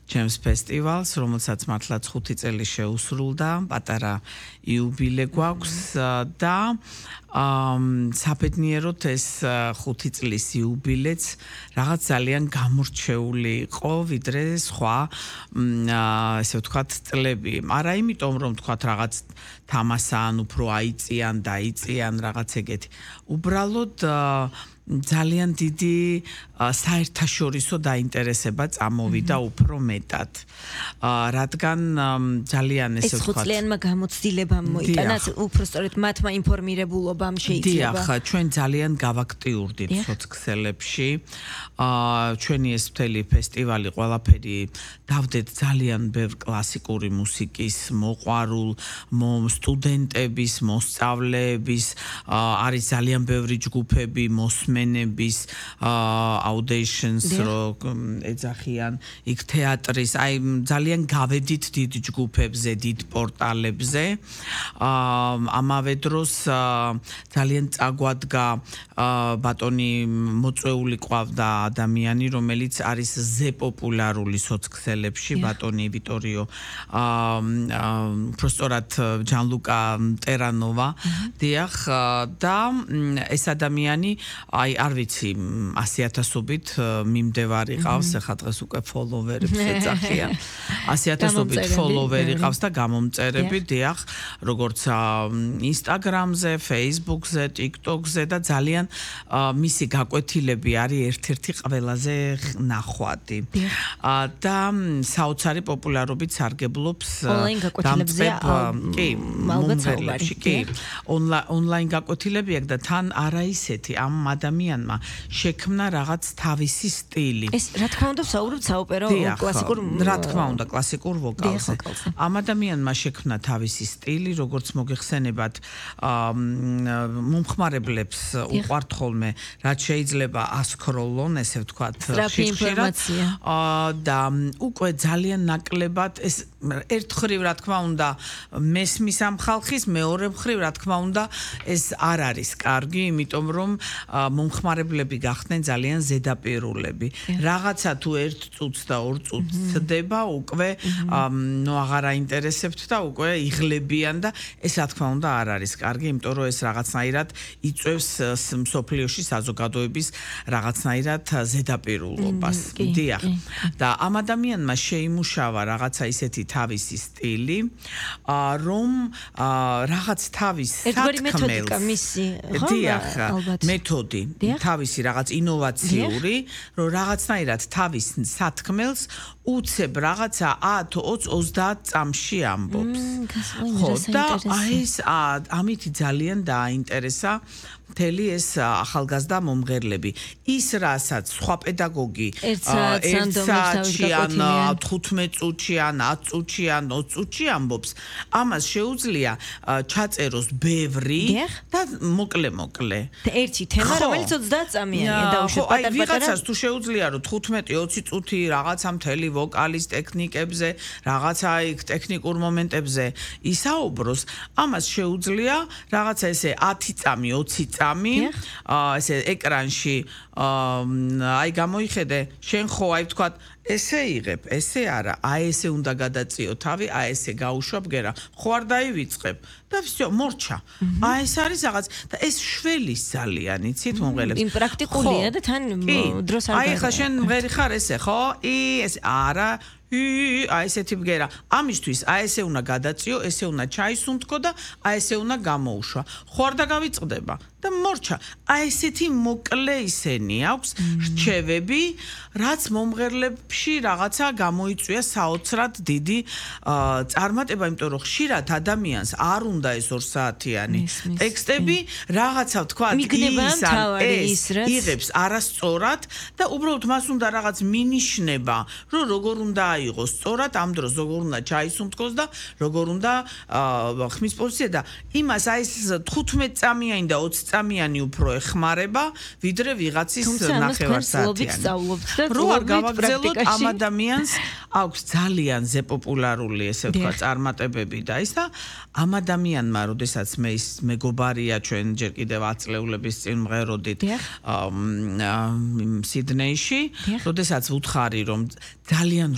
ჩემს ფესტივალს, რომელსაც მართლაც 5 წელი შეუსრულდა, პატარა იუბილე გვაქვს და საბედნიეროდ ეს 5 წლის იუბილეც რაღაც ძალიან გამორჩეული იყო, ვიდრე სხვა ესე ვთქვათ წლები. არა იმიტომ რომ ვთქვათ რაღაც თამასან უფრო აიწიან, დაიწიან რაღაც ეგეთი. უბრალოდ ძალიან დიდი საერთაშორისო დაინტერესება წამოვიდა უფრო მეტად. რადგან ძალიან ესე ვთქვათ, ეს 5 წლიანმა გამოცდილებამ მოიტანა, უფრო სწორედ მათმა ინფორმირებულობამ შეიძლება. დიახ, ჩვენ ძალიან გავაქტიურდით სოციქსელებში. ჩვენი ეს მთელი ფესტივალი ყველაფერი დავდეთ ძალიან ბევრ კლასიკური მუსიკის მოყვარულ სტუდენტების, მოსწავლეების, არის ძალიან ბევრი ჯგუფები, მოსმენების, auditions რო ეძახიან, იქ თეატრის, აი ძალიან გავედით დიდ ჯგუფებზე, დიდ პორტალებზე. ამავე დროს ძალიან წაგვადგა ბატონი მოწვეული ყავდა ადამიანი, რომელიც არის ზე პოპულარული სოციქსელებში, ბატონი ვიტორიო უბრალოდ ჯანლუკა ტერანოვა, დიახ, და ეს ადამიანი, აი არ ვიცი, 100,000-ობით მიმდევარი ყავს, ახლა დღეს უკვე ფოლოვერებს ეძახიან. 100,000-ობით ფოლოვერი ყავს და გამომწერები, დიახ, როგორც Instagram-ზე, Facebook-ზე, TikTok-ზე და ძალიან მისი გაკვეთილები არის ერთ-ერთი ყველაზე ნახვადი. და საოცარი პოპულარობით სარგებლობს მომღერლებში. კი, ონლაინ გაკვეთილები აქვს და თან არა ისეთი, ამ ადამიანმა შექმნა რაღაც თავისი სტილი. ეს რა თქმა უნდა საუბრობთ საოპერო კლასიკურ რა თქმა უნდა კლასიკურ ვოკალზე. ამ ადამიანმა შექმნა თავისი სტილი, როგორც მოგეხსენებათ, მომხმარებლებს უყვართ ხოლმე, რაც შეიძლება ასკროლონ, ესე ვთქვათ, ხშირად. და უკვე ძალიან ნაკლებად ეს ერთხრივ რა თქმა უნდა მესმის ამ ხალხის, მეორე მხრივ რა თქმა უნდა ეს არ არის კარგი, იმიტომ რომ მომხმარებლები გახდნენ ძალიან ზედაპირულები. რაღაცა თუ 1 წუთს და 2 წუთს ცდება, უკვე აღარ აინტერესებთ და უკვე იღლებიან და ეს რა თქმა უნდა არ არის კარგი, იმიტომ რომ ეს რაღაცნაირად იწვევს მსოფლიოში საზოგადოების რაღაცნაირად ზედაპირულობას. დიახ. და ამ ადამიანმა შეიმუშავა რაღაცა ისეთი თავისი სტილი, რომ რაღაც თავის სათქმელს დიახ, მეთოდი, თავისი რაღაც ინოვაციური, რომ რაღაცნაირად თავის სათქმელს უცებ რაღაცა 10, 20, 30 წამში ამბობს. ხო, და ეს ამით ძალიან დააინტერესა მთელი ეს ახალგაზრდა მომღერლები. ის რასაც სხვა პედაგოგი 1 საათში ან 15 წუთში ან 10 წუთში ან 20 წუთში ამბობს, ამას შეუძლია ჩაწეროს ბევრი და მოკლე. ერთი თემა, რომელიც 30 წამიანია დაუშვათ პატარ-პატარა. აი ვიღაცას თუ შეუძლია რომ 15-20 წუთი რაღაცა მთელი ვოკალის ტექნიკებზე, რაღაცა იქ ტექნიკურ მომენტებზე ისაუბროს, ამას შეუძლია რაღაცა ესე 10 წამი, 20 წამი, ესე ეკრანში აი გამოიხედე, შენ ხო აი ვთქვათ ესე იღებ, ესე არა, აი ესე უნდა გადაწიო თავი, აი ესე გაუშვა ბგერა, ხო არ დაივიწყებ და всё, მორჩა. აი ეს არის რაღაც და ეს შველის ძალიან, იცით მომღერლებს. იმ პრაქტიკულია და თან დროს არ აი ხა შენ მღერი ხარ ესე, ხო? ეს არა აი ესეთი ბგერა. ამისთვის აი ესე უნდა გადაწიო, ესე უნდა ჩაისუნთქო და აი ესე უნდა გამოუშვა. ხო არ დაგავიწყდება და მორჩა. აი ესეთი მოკლე ისენი აქვს რჩევები, რაც მომღერლებში რაღაცა გამოიწვია საოცრად დიდი წარმატება, იმიტომ რომ ხშირად ადამიანს არ უნდა ეს 2 საათიანი ტექსტები, რაღაცა თქვა იღებს არასწორად და უბრალოდ მას უნდა რაღაც მინიშნება, რომ როგორ უნდა აიღოს სწორად, ამ დროს როგორ უნდა ჩაისუნთქოს და როგორ უნდა ხმის პოზიცია და იმას აი ეს 15 წამიანი და 20 წამიანი უფრო ეხმარება, ვიდრე ვიღაცის ნახევარსაათიანი. რო არ გავაგრძელოთ ამ ადამიანს აქვს ძალიან ზეპოპულარული ესე ვთქვა წარმატებები და ის და ამ ადამიანმა, როდესაც მე ის მეგობარია ჩვენ ჯერ კიდევ 10 წლეულების წინ მღეროდით სიდნეიში, როდესაც ვუთხარი რომ ძალიან